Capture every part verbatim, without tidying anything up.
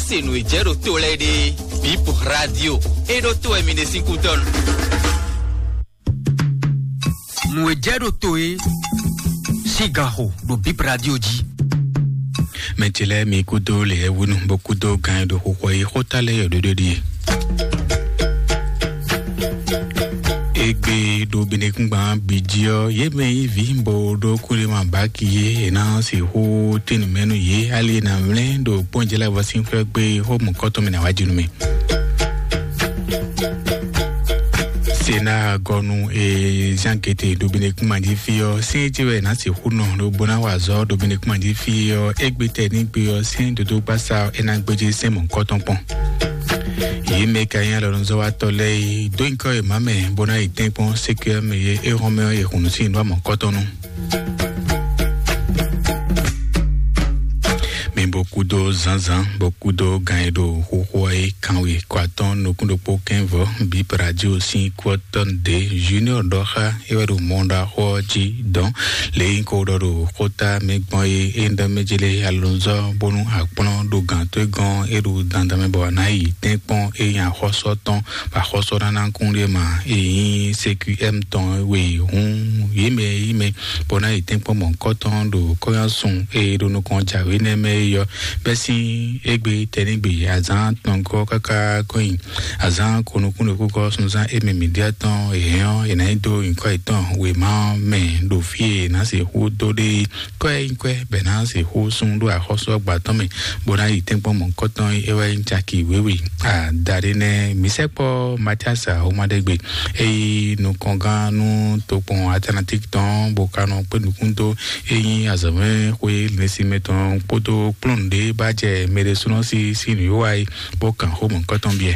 Se nǔ e jɛ ɖo to lɛ́ɛ ɖe, Bip Radio, e ɖo to wɛ mi ɖe sín kútɔ́ nu. Nǔ e jɛ ɖo to e sín ganxo ɖo Bip Radio jí. Mɛ ce lɛ́ɛ mi kúdó lě e wúnu bó kúdó gan e ɖo xixɔ yi xóta lɛ́ɛ yɔ ɖoɖo ɖíe. Egbe ɖo binekúngban bǐ jí ɔ́, yě mɛ yí vǐ bó ɖó kúɖéma báki yé, è nǎ sixú tín nǔ mɛ nú yě, ali e nǎ mlɛ́ ɖo kpɔ́njɛ́lɛ́vɔ sín xwé gbé xó mɔ̌kɔtɔn mɛ nǎ wá jí nú mì. Sena gɔnu e Jean Kete ɖo binekúngban jí fí ɔ́, sín jí wɛ è nǎ sixú nɔ ɖo bó ná wa azɔ̌ ɖo binekúngban jí fí ɔ́, égbé tɛ ní gbé ɔ́, sín dodógbasá ɔ́, é ná gbéjé sɛ́n mɔ̌kɔtɔn kpɔ́n. Yě mɛ ka nyí alɔnuzɔ́watɔ́ lɛ́ɛ é dó nyǐkɔ e mǎ mɛ bó ná yi tɛ́nkpɔ́n sékúyɛ́ mɛ e é hɔn mɛ ɔ́ yi hun nǔ sín nǔ amɔ̌kɔ́tɔn nu. Mi bó kúdó zǎnzǎn, bó kúdó gan e ɖo xóxó ɔ́ é kanwe kɔ atɔ́ɔ́n nukún ɖokpó kɛ́nvɔ́, Bip Radio sín kú ɔ́ tɔn ɖě Junior ɖɔ xá é wɛ ɖo mɔ ɖaxó ɔ́ jí dɔn. Lě e nyí ko ɖɔ ɖo xóta mɛ gbɔn é é ɖɔ mɛ jélé alonzɔ bónú akplɔ́n ɖo gǎn tó gɔ́n é ɖo dandan mɛ bɔ a nǎ yi tɛ́nkpɔ́n é nyi axɔ́sɔ tɔn bɔ axɔ́sɔ ná ná kún ɖé ma é nyí C Q M tɔn we hǔn yě mɛ yí mɛ bɔ ná yi tɛ́nkpɔ́n mɔ̌kɔtɔn ɖo kɔ́yɔ́sun e ɖo nukɔn jǎwe nɛ́ mɛ é yɔ bɛ́ sín égbé tɛnígbe azǎn tɔngɔ́ káká kɔ́nyi azǎn konukúnɖokúkɔ sunzán émɛ mǐdíá tɔn è hɛn ɔ́ è nǎ yi dó nyǐkɔ yětɔn wěma ɔ́ mɛ ɖo fí e è nǎ sixú dó ɖe kɔ́ e nyí kwɛ́ bɔ è nǎ sixú sún ɖó axɔ́sú ɔ́ gba tɔn mɛ bó ná yi tɛ́nkpɔ́n mɔ̌kɔtɔn é wɛ nyí caki wěwe adaɖé nɛ́ mǐ sɛkpɔ́ Matiasa Omadɛgbe é yí nukɔngán nú tokpɔn Atlantique tɔn bó ka nɔ kpé nukún dó é nyí azɔ̌mɛ xwé lɛ́nsimɛ tɔn kpódó kplɔ́n ɖé bá jɛ mɛɖésúnɔ sí sí nǔ yó wá yi bó kan xó mɔ̌kɔtɔn biɛ.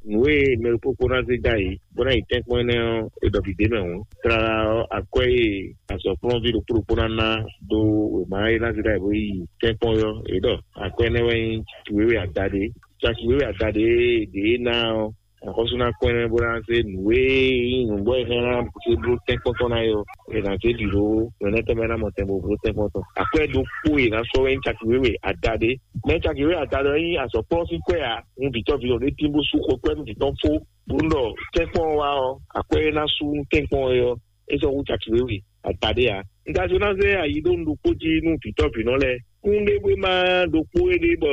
Nǔ e mɛ ɖokpókpó ná zé dó ayǐ bó ná yi tɛ́nkpɔ́n énɛ́ ɔ́, è ɖɔ bǐ d'é mɛ hǔn. Tlala ɔ́, akwɛ́ e azɔ̌kplɔ́nví ɖokpó ɖokpó ná ná dó wěma e ná zé dó ayǐ bó yi tɛ́nkpɔ́n ɔ́, è ɖɔ akwɛ́ énɛ́ wɛ nyí caki wěwe adaɖé. Caki wěwe adaɖé e è ɖě ná ɔ́, axɔ́sú ná kpɔ́n ɛ bó ná zé nǔ e nyí nǔgbó e hɛn ná zé bló tɛ́nkpɔ́n tɔn ná é ɔ́, è nǎ zé bǐ ɖó nǔ énɛ́ tɔn mɛ ná mɔ tɛn bó bló tɛ́nkpɔ́n tɔn. Akwɛ́ ɖokpó e è nǎ sɔ́ wɛ nyí caki wěwe adaɖé. Mɛ caki wěwe adaɖé ɔ́ nyí azɔ̌kplɔ́n sín kwɛ́ ǎ. Un vǐ tɔn vǐ tɔn ɖé tín bó sú xɔ kwɛ́ nú vǐ tɔn fó, bó nɔ tɛ́nkpɔ́n ɔ́ wá ɔ́, akwɛ́ e ná sú nú tɛ́nkpɔ́n ɔ́ é ɔ́, é sɔ́ hú caki wěwe adaɖé ǎ. Un ka jló ná zé ayi ɖó un ɖokpó jí nú vǐ tɔn vǐ nɔ lɛ́ɛ. Kúnɖéwéma ɖokpó é ɖe bɔ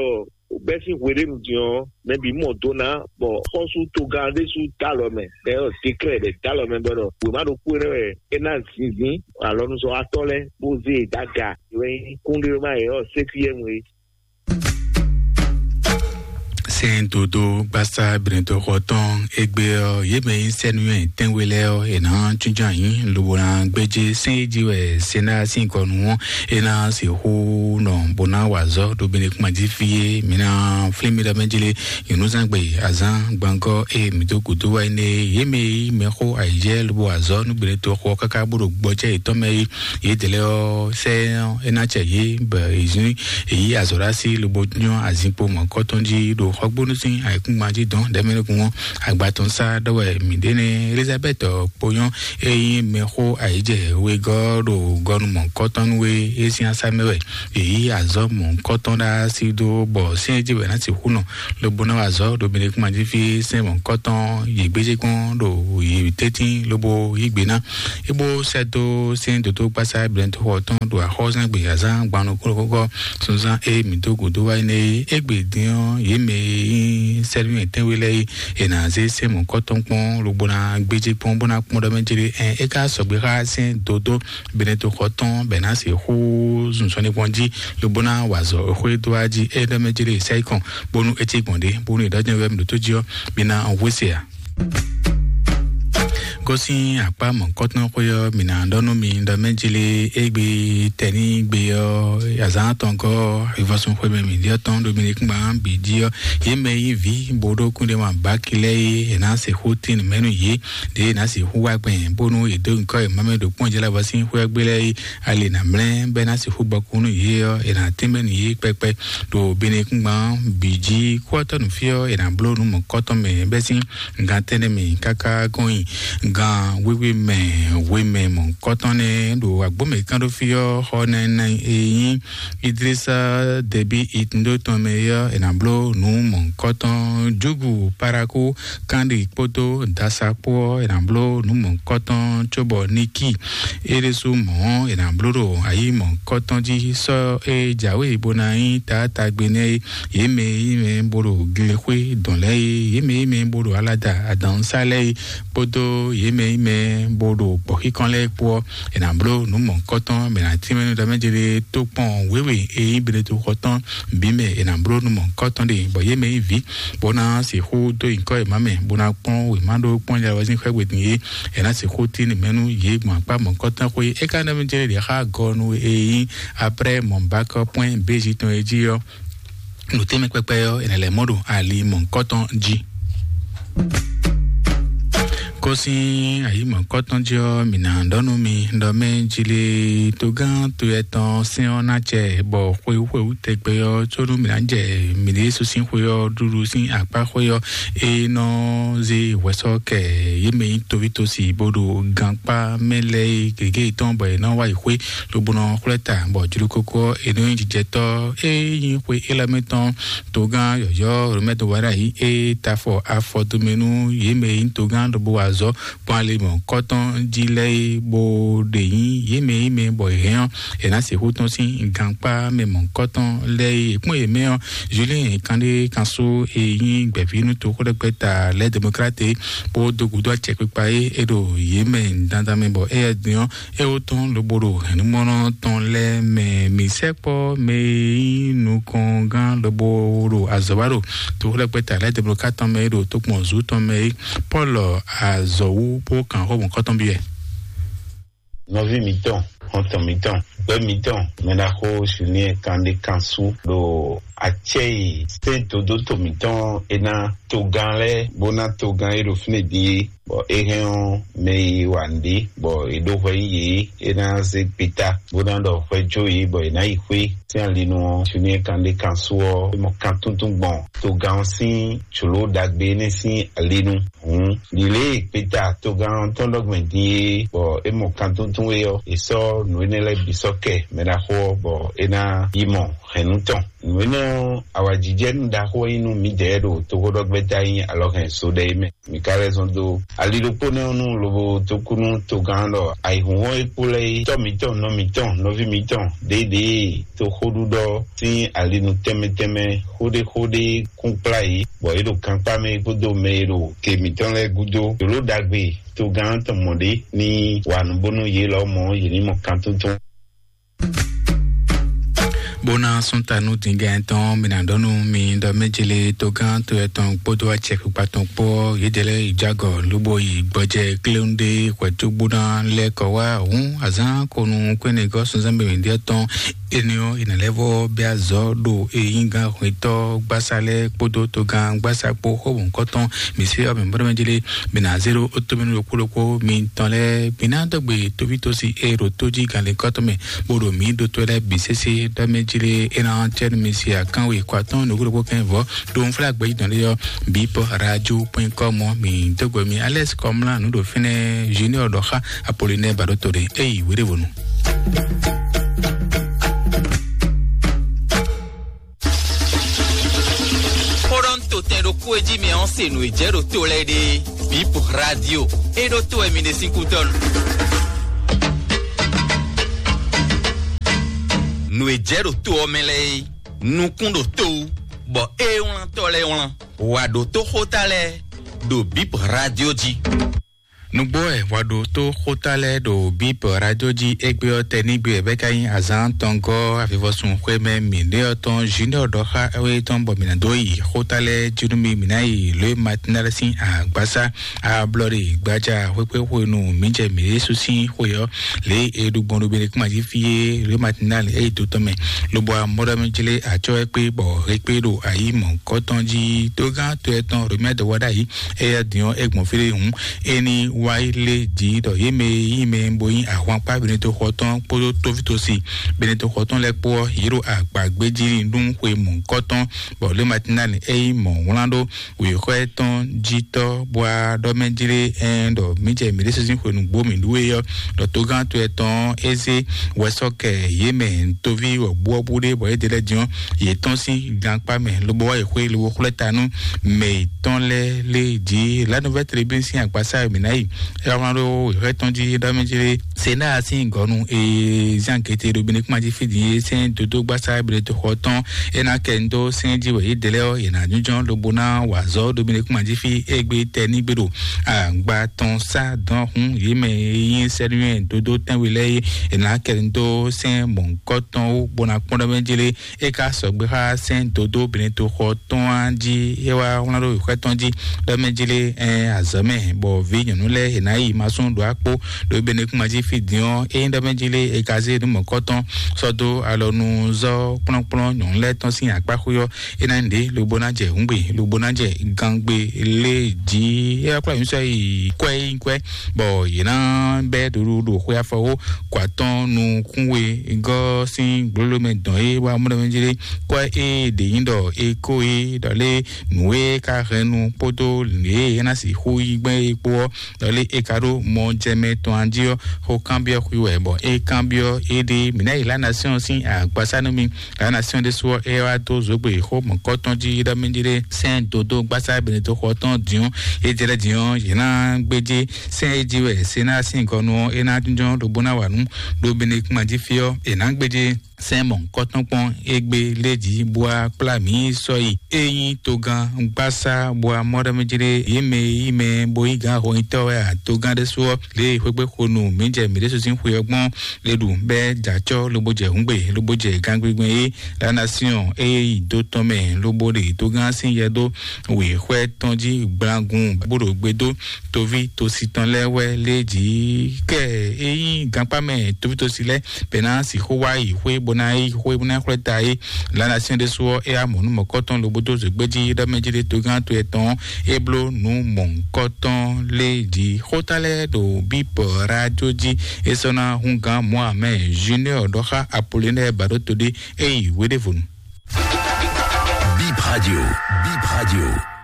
bɛ́ sín hweɖénu din ɔ́, mɛ bǐ mɔ do ná, bɔ xɔ́sú togán ɖésú dó alɔ mɛ, ɖɛ ɔ́ dékrɛ́ ɖɛ dó alɔ mɛ bɔ ɖɔ wěma ɖokpó énɛ́ wɛ é ná zinzín alɔnuzɔ́watɔ́ lɛ́ɛ bó zé e dó aga. É wɛ nyí kúnɖéwéma yě ɔ́ sékúyɛ́nu é. Sɛn dodo gbasa brɛntɔxɔ tɔn egbe ɔ, yé mɛ yi sɛnuyɔ tɛnwe lɛ ɔ, e na tsúntsún anyi lobo na gbedze sɛn yi dzi wɛ sɛn na sin kɔnu ɔ, e na si xo nɔ bo na wa zɔ do bene kuma dzi fie. Mi na fli mi da mɛ jele yunuzangbe azan gbangɔ e mi do kudo wa ne yé mɛ yi mɛ xo ayijɛ lobo azɔ nu bene to xɔ kaka bo do gbɔjɛ etɔn mɛ yi. Yědɛlɛ ɔ́, sɛ ɔ́, é ná cɛ yě bɔ èzún èyí azɔ̌ɖásí lobo nyɔ́ azinkpo mɔ̌kɔtɔn jí ɖo xɔgbónú sín ayǐkúngban jí dɔn ɖɛ̌mɛnúkún ɔ́. Agbatɔn sá ɖɔ wɛ mǐ ɖe nɛ́. Elizabɛ́t kponyɔ́ é nyí mɛxó ayǐjɛ wegɔ́ ɖo gɔ́nu mɔ̌kɔtɔn nú é é sín asá mɛ wɛ èyí azɔ̌ mɔ̌kɔtɔn ɖá sí dó bɔ sɛ́n jí wɛ ná sixú nɔ lobo ná wa azɔ̌ ɖo mǐɖékúngban jí fí sɛ́n mɔ̌kɔtɔn yě gbéjé kpɔ́n ɖo yě tɛ́ntin lobo yí gbe ná. É bó sɛ́ dó sín dǒdó gbásá blɛ́ntóxɔ tɔn ɖo axɔ́súnágbe azán gban nukúnnú xóxó sunzán e mǐ dó gǔdo wá énɛ́ é. Égbé din ɔ́, yě mɛ e nyí sɛ́númɛ tɛ́nwe lɛ́ɛ é, è nǎ zé sɛ́n mɔ̌kɔ́tɔn kpɔ́n lobo ná gbéjé kpɔ́n bó ná kpɔ́n ɖɔ mɛ jlé. Ɛn é ka sɔgbe xá sín dǒdó Benɛtoxɔ tɔn bɔ è nǎ sixú zun sɔ́ ní kpɔ́n jí lobo ná wa azɔ̌ xwé dó wá jí é ɖɔ mɛ jlé sɛ́ yi kɔn bónú é cí gbɔn ɖě bónú è ɖɔ jɛ́n wɛ mǐ ɖótó jí ɔ́, mi ná hwesɛ ǎ. Gosín akpá mɔ̌kɔtɔn xwé ɔ́, mǐ ná ɖɔ nú mi ɖɔ mɛ jlé égbé tɛnígbe ɔ́, azǎn atɔngɔ́ ìvɔsùn xwé mɛ mǐ ɖyɔ́ tɔn ɖo mi ní kúngban bǐ jí ɔ́, yě mɛ yí vǐ bó ɖó kúnɖéma báki lɛ́ɛ é, è nǎ sixú tín nǔ mɛ nú yě, ɖě è nǎ sixú wá gbɛn bónú è dó nyǐkɔ è má mɛ ɖo kpɔ́n jɛ lɛ́ɛ vɔ sín xwé ɔ́ gbé lɛ́ɛ é, ali è nǎ mlɛ́ bɔ é ná sixú gbɔkú nú yě ɔ́, è nǎ tɛ́nmɛ nú yě kpɛkpɛ ɖo Benɛkúngban bǐ jí. Kúɔtɔ́ nǔfí ɔ́, è nǎ bló nǔ mɔ̌kɔtɔn mɛ bɛ́ sín gan tɛ́nnɛ mɛ káká gɔ́n nyi Gan wíwí mɛ wímɛ mɔ̌hunkɔtɔn nɛ́ ɖo agbómɛ kán ɖó fí ɔ́, xɔ nɛnɛ e nyí Idrisa Dɛbí Itndo tɔn mɛ é ɔ́, è nǎ bló nǔ mɔ̌hunkɔtɔn. Júgu Paraku Kandi kpódó Dasa kpó ɔ́, è nǎ bló nǔ mɔ̌hunkɔtɔn, cóbɔ Niki é ɖésú mɔ̌ ɔ́, è nǎ bló ɖo ayǐ mɔ̌hunkɔtɔn jí. Sɔ́ e jǎwe bó ná nyí taátagbe nɛ́ é, yě mɛ e nyí mɛ bó ɖo glexwé dɔn lɛ́ɛ é, yě mɛ e nyí mɛ bó ɖo alada adǎnsá lɛ́ɛ é, kpódó yě mɛ e nyí mɛ bó ɖo gbɔ̌xíkɔn lɛ́ɛ kpó ɔ́, è nǎ bló nǔ mɔ̌hunkɔtɔn. Mɛ ná tínmɛ nú ɖɔ mɛ jɛ ɖe tó kpɔn wěwe e nyí Benetoxɔ tɔn bǐ mɛ, è nǎ bló nú mɔ̌hunkɔtɔn ɖe, bɔ yě mɛ nyí vǐ, bó ná sixú dó nyǐkɔ yě má mɛ, bó ná kpɔ́n wěma ɖó kpɔ́n yɛ wɛ sín xwé gbe din é, è nǎ sixú tín mɛ nú yě gbɔn akpá mɔ̌hunkɔtɔn xwé. É ka nɔ mɛ jɛ ɖe xá gɔnu e nyí Aprɛ́ Mɔ̌bákɔ pwɛ́n Bézi tɔn é jí ɔ́, nǔ tɛnmɛ kpɛkpɛ ɔ́, è nǎ lɛ́ mɔ ɖo ali mɔ̌hunkɔtɔn jí. Kó sín ayǐ mɔ̌hunkɔtɔn jí ɔ́, mǐ ná ɖɔ nú mi ɖɔ mɛ jí lé togán to yɛ tɔn sɛ́n ɔ́ ná jɛ, bɔ xwewú xwewú tɛgbɛ ɔ́, có nú mǐ ná jɛ mǐɖée sú sín xwe ɔ́ ɖuɖu sín akpá xwe ɔ́, é nɔ zé hwɛsɔ́ kɛ yě mɛ nyí toví tosi bó ɖo gankpá mɛ lɛ́ɛ é gěgé yětɔn, bɔ yě nɔ wá yi xwé lobo nɔ xwlɛ́ ta, bɔ jlokoko ɔ́, è nɔ nyí jijɛtɔ́. É nyí xwe élɔ́ mɛ tɔn togán yɔ̌yɔ́ Romɛ́ Dowáɖa yí é ta afɔ afɔ dome nú yě mɛ e nyí togán ɖo bó wa azɔ̌ gbɔn ali mɔ̌hunkɔtɔn jí lɛ́ɛ é, bó ɖe nyí yě mɛ e nyí mɛ bɔ è hɛn ɔ́, è nǎ sixú tɔ́n sín gankpá mɛ mɔ̌hunkɔtɔn lɛ́ɛ é. È kpɔ́n yě mɛ ɔ́, Julien Kanɖé Kansu e nyí gbɛ̌ví nú toxó ɖɛkpɛ ta lɛ́ Demokrate kpó dó gǔdo acɛkpikpa é, é ɖo yě mɛ dandan mɛ, bɔ éyɛ́ din ɔ́, é wó tɔn lobo ɖo hɛ̌nnumɔnɔ tɔn lɛ́ɛ mɛ. Mǐ sɛkpɔ́ mɛ e nyí nukɔngán lobo ɖo azɔ̌ wa ɖo toxó ɖɛkpɛ ta lɛ́ Demokrate tɔn mɛ é ɖo tokpɔn zǔ tɔn mɛ é, Pɔ́lu azɔ̌wú bó kan xó mɔ̌hunkɔtɔn byɔ́ ɛ. Nɔví mǐtɔn, xɔ́ntɔn mǐtɔn, gbɛ́ mǐtɔn, mɛ ɖaxó Julien Kanɖé Kansu ɖo acɛ́ e sɛ́n dodóto mǐtɔn e ná togán lɛ́ɛ bó ná togán e ɖo fínɛ́ din é, bɔ é hɛn ɔ́, mɛ e wa nǔɖé bɔ è ɖó hwɛ nyi yě é ná zé gbeta bó ná ɖɔ hwɛ jó yě bɔ è nǎ yi xwé. Sín alinu ɔ́, Julien Kanɖé Kansu ɔ́, é mɔ kan túntún gbɔn togán ɔ́ sín jlǒ ɖagbe énɛ́ sín alinu. Hǔn, ɖi lě e gbeta togán ɔ́ tɔn ɖɔ gbɔn din é, bɔ é mɔ kan túntún é ɔ́, è sɔ́ nǔ énɛ́ lɛ́ɛ bǐ sɔ́ kɛ mɛ ɖaxó ɔ́, bɔ é ná yi mɔ hɛ̌nnu tɔn. Nǔ énɛ́ ɔ́, awǎjijɛnú ɖaxó wɛ nyí nú mǐdɛɛ ɖo toxóɖɔgbɛ́ta nyí alɔhɛn so ɖɛ é mɛ. Mǐ ka lɛ́ zɔn dó ali ɖokpó nɛ́ ɔ́ nu lobo dó kú nú togán ɖɔ ayǐhúnhɔ́n e kpo lɛ́ɛ é, tɔ́ mǐtɔn, nɔ mǐtɔn, nɔví mǐtɔn, ɖěɖěe toxóɖuɖɔ sín alinu tɛnmɛ tɛnmɛ xóɖéxóɖé kún kplá yě, bɔ yě ɖo gankpá mɛ kpódó mɛ e ɖo ke mǐtɔn lɛ́ɛ gúdo. Jǒló ɖagbe togán tɔn mɔ ɖě ní wa nǔ bónú yě lɔmɔ̌ yě ní mɔ kan tuntun. Bó ná sún ta nú dǐngɛ tɔn, mi ná ɖɔ nú mi ɖɔ méjèlé togán to etɔn kpódó acɛkpikpa tɔn kpó yědɛlɛ ìjágɔ lóbó yi gbɔjɛ kléwúndé hwɛtúgbóná lɛ́ kɔ wá hǔn azán konu kwénegɔ́ sunzán bèmí ɖíɛ tɔn. Énɛ́ ɔ́, è nǎ lɛ́ vɔ́ bɛ́ azɔ̌ ɖo eyíngán hwetɔ́ gbásá lɛ́ɛ kpódó togán gbásá kpó xó mɔ̌hunkɔtɔn mǐ sí ɔ́ mǐ bó ɖɔ méjèlé. Mi ná zé ɖó ó tómɛ nú ɖokpó ɖokpó mitɔn lɛ́ɛ. Mi ná dɔgbe tóvítósi e ɖo tó jí gǎnlínkɔ́tɔn mɛ, bó ɖo mǐ ɖótó lɛ́ɛ bǐ sésé ɖɔ mɛ jí lé. É ná cɛ nú mi si akánwe kɔ atɔ́ɔ́n nǔgbó ɖokpó kɛ́n vɔ̌ ɖo nflágbɛ́ yí tɔn ɖé ɔ́, bip radio point com ɔ́. Mi dó gbe mi Alex Kɔmlá nǔ ɖo fínɛ́, Junior ɖɔ xá Apollinaire Baɖóto ɖé. Éyi wéɖévonu. Xóɖɔ́ntotɛn ɖokpó e jí mɛ ɔ́ se nǔ e jɛ ɖo to lɛ́ɛ ɖe. Bip radio, e ɖó to wɛ mi ɖe sín kútɔ́ nu. Nǔ e jɛ ɖo to ɔ́ mɛ lɛ́ɛ é, nukún ɖo to wú, bɔ é wlán tɔ́ lɛ́ɛ wlán. Wǎ ɖó tó xóta lɛ́ɛ ɖo Bip radio jí. Nǔgbó wɛ hwɛ ɖo tó xóta lɛ́ɛ ɖo Bíbɔ radio jí égbé ɔ́, tɛnígbe wɛ bɛ́ ka nyí azǎn tɔngɔ́ avivɔsun xwé mɛ mǐɖé ɔ́ tɔn Junior ɖɔ xá éwe tɔn bɔ mǐ ná dó yi xóta lɛ́ɛ jí nú mi, mǐ ná yi lǒ e Matinal sín agbásá ablɔɖe gbadza xwéxwé xwenu mǐ jɛ mǐ Yésu sín xwe ɔ́, lě e ɖu gbɔn ɖo Benekuma jí fí é, lǒ e Matinal é yi do tɔn mɛ, lobo amɔ́ɖɔmɛ jlé acɔ́ ɛ kpé bɔ he kpé ɖo ayǐ mɔ̌hunkɔtɔn jí. Tógán to ɛ tɔn Romɛ dɔ wá ɖ'ayǐ, éyɛ́ din ɔ́ é gbɔn fí ɖé hǔn, é ní Wáyé lé jǐ ɖɔ yě mɛ e nyí mɛ bo nyí ahwankpá Benetoxɔ tɔn kpódó tóvítosi Benetoxɔ tɔn lɛ́ɛ kpó ɔ́, yě ɖo agbǎgbéjí nú xwe mɔ̌hunkɔtɔn, bɔ lě Matinali é nyí mɔ̌ wlán ɖó wěxɔ tɔn jí tɔ́ bó wá ɖɔ mɛ jlé ɛn ɖɔ mǐ jɛ mǐ ɖésú sín xwe nǔgbó mǐ ɖu é ɔ́, ɖɔ togán towe tɔn ɔ́, é zé wɛsɔ́kɛ yě mɛ toví wɔ̌buwɔ́bú ɖé bɔ é ɖe lɛ́ɛ din ɔ́, yě tɔ́n sín gankpá mɛ lobo wá yi xwé lobo xwlɛ́ ta nú mɛ yětɔn lɛ́ɛ lé jí. La Nouvelle Tribune sín agbasá e mǐ ná yi é wá wlán ɖó wěxɔ tɔn jí ɖɔ mɛ jlé Sénat sín gɔ̌nu e zán gete ɖo Benekúma jí fí din é sɛ́n dodó gbásá Benetoxɔ tɔn é ná kɛ ndó sɛ́n jí wɛ yě dɛ lɛ́ɛ ɔ́, yě ná nyújɔ lobo ná wa azɔ̌ ɖo Benekúma jí fí égbé tɛ ní gbé ɖo agba tɔn sá dɔn hún yě mɛ e nyí sɛ́núnyɛ dodó tɛ́nwe lɛ́ɛ é, yě ná kɛ ndó sɛ́n mɔ̌hunkɔtɔn wú bó ná kpɔ́n ɖɔ mɛ jlé é ka sɔgbe xá sɛ́n dodó Benetoxɔ tɔn á jí é wá wlán ɖó wěxɔ tɔn jí ɖɔ mɛ jlé ɛn azɔ̌ mɛ, bɔ vǐ nyɔ̌nu lɛ́ɛ è nǎ yi masún ɖo akpó ɖo Benekúma jí fí din ɔ́, é nyí ɖɔ mɛ jlé è ka zé nǔ mɔ̌kɔtɔn sɔ́ dó alɔ nú zɔ́ kplɔ́nkplɔ́n nyɔ̌nu lɛ́ɛ tɔn sín akpáxwé ɔ́, é ná nyí ɖě lobo ná jɛ hǔngbe lobo ná jɛ gangbe lé jí é wá kplá nyǔsɔ yi kwɛ yi kwɛ, bɔ yě ná bɛ́ ɖuɖu ɖo xwe afɔwó kɔ atɔ́ nukún we gɔ́ sín gblǒló mɛ dɔn é wá mɔ ɖɔ mɛ jlé kɔ é ɖě nyí ɖɔ é kó é ɖɔ lé nǔ e ka hɛn nu kpódó lě e é ná sixú yí gbɛn é kpó ɔ́, ɖɔ lé é ka ɖó mɔ jɛ mɛ tɔn jí ɔ́, xó kanbyɔ́ xwí wɛ bɔ é kanbyɔ́ éɖée mǐ ná yi La Nation sín agbasá nú mi. La Nation ɖésú ɔ́, é wá dó zǒgbe xó mɔ̌kɔtɔn jí ɖɔ mɛ jí ɖé sɛ́n dodó gbásá Benetoxɔ tɔn din ɔ́, é jɛ lɛ́ din ɔ́, yě ná gbéjé sɛ́n é jí wɛ Sénat sín gɔnu ɔ́, é ná jínjɔ́n ɖo bó ná wa nǔ ɖo Benekúma jí fí ɔ́, è nǎ gbéjé sɛ́n mɔ̌hunkɔtɔn kpɔ́n égbé lé jí bó wá kplá mǐ sɔ́ yi. É nyí togán gbásá bó wá mɔ ɖɔ mɛ jí ɖé yě mɛ e yí mɛ bó nyí gǎn hɔnyitɔ́ wɛ a togán ɖésú ɔ́, lě e xwégbé xo nú mǐ jɛ mǐ ɖésú sín xwe ɔ́ gbɔn é ɖu bɛ́ jɛ acɔ́ lobo jɛ hǔngbe lobo jɛ gangbigbe é La Nation é yi dó tɔn mɛ lobo ɖe togán sín yɛ dó wěxwɛ tɔn jí gblangun bó ɖo gbe dó toví tosi tɔn lɛ́ɛ wɛ lé jí kɛ é nyí gankpá mɛ toví tosi lɛ́ɛ bɛ́ ná sixú wá yi xwé bó ná yi xwé bó ná xwlɛ́ ta é. La Nation ɖésú ɔ́, é amɔ̌ nú mɔ̌kɔtɔn lobo dó zǒgbé jí ɖɔ mɛ jí ɖé togán to etɔn é bló nǔ mɔ̌hunkɔtɔn lé jí. Xóta lɛ́ɛ ɖo bípɔ rájó jí é sɔ́ ná húngán Mohammed Junior ɖɔ xá Apollinaire Baɖóto ɖé é yi wéɖévonu. Bip Radio, Bip Radio.